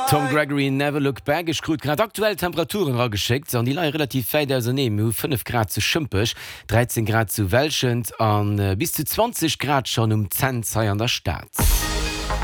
Tom Gregory, Never Look Back. Ech krut grad aktuell Temperaturen erageschéckt an déi leie relativ wäit auserneen. Mir hu 5 Grad zu Schëmpech, 13 Grad zu Welschent a bis zu 20 Grad schonn um Cents hei an der Stad.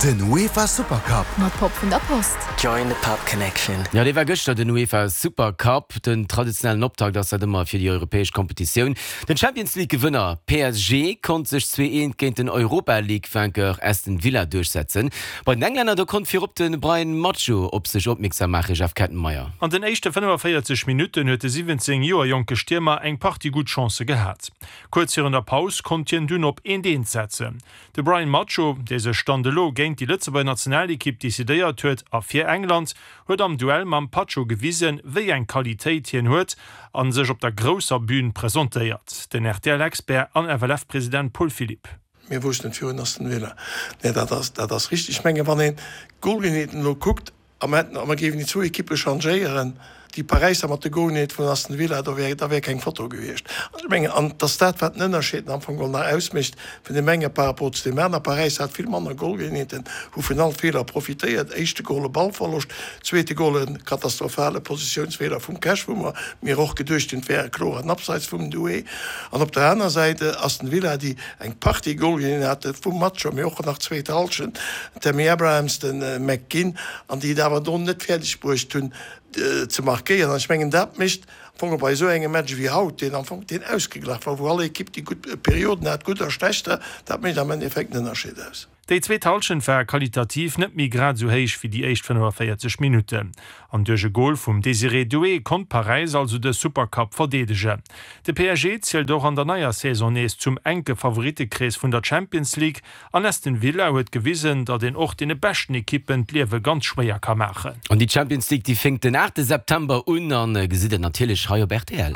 Den UEFA Supercup. Mat Pop vun der Post. Join the Pop Connection. Jo, dee war gëschter, den UEFA Supercup. Den traditionellen Optakt ass dat ëmmer fir déi europäesch Kompetitioun. Den Champions League Gewënner PSG konnt sech 2, 1 géint den Europa League Vainqueur Aston Villa duerchsetzen. Bei den Englänner do konnt virop de Bryan Macho op sech opmierksam maachen, Jeff Kettenmeyer. An den éischte 45 Minutten huet de 17 Joer jonke Stiermer eng Partie gutt Chancë gehat. Kuerz virun der Paus konnt hien dunn op eent eent setzen. De Bryan Macho, dee sech Stand elo géint déi Lëtzebuerger Nationalekipp decidéiert huet a fir England, huet am Duell mam Pacho gewisen, wéi eng Qualitéit hien huet a sech op der grousser Bün presentéiert. Den RTL-Expert an FLF-President Paul Philipp. Mir woussten et virun Aston Villa. Nee, dat ass, dat ass richteg. Ech mengen, wann een d'Goalgeenheeten elo kuckt, a mer hätten, a mer géifen déi zwou Ekippe changéieren, déi Paräisser mat de Goalgeenheet vun Aston Villa, do wär, da wär keng Foto gewiescht. An ech mengen, an et ass dat, wat den Ënnerscheed am Fong geholl nach ausmécht vun deem enge par rapport zu deem aner. Paräis hat vill manner Goalgeenheeten, hu vun all Feeler profitéiert, éischte Goal e Ballverloscht, zweete Goal e katastrophale Positiounsfeeler vum Cash, wou mer mir och geduecht hunn, et wär e kloren Abseits vum Doué. An op der aner Säit Aston Villa, déi eng Partie Goalgeenheeten hate vum Match scho, mee och nach zweet Hallschent, den Tammy Abrahams, de McGinn, an déi et awer do net fäerdeg bruecht hunn ze markéieren. An ech mengen, dat mécht am Fong bei esou engem Match wéi haut, deen am Fong deen ausgeglach war, wou all Ekipp déi gutt Perioden hat, gutt a schlechter, dat mécht am Endeffekt den Ënnerscheed aus. Déi zweet Hallschent war qualitativ net méi grad esou héich wéi déi éischt 45 Minutten. An duerch e Gol vum Désiré Doué konnt Paräis also de Supercup verdeedegen. De PSG zielt och an der neier Saison nees zum enke Favorittekrees vun der Champions League an Aston Villa huet gewisen, datt een och deene beschten Ekippen d'Liewe ganz schwéier ka maachen. An déi Champions League déi fénkt den 8 September un an gesitt et natierlech hei op rtl.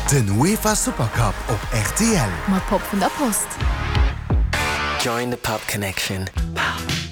Den UEFA Supercup op rtl. Mat Pop vun der Post. Join the Pop Connection.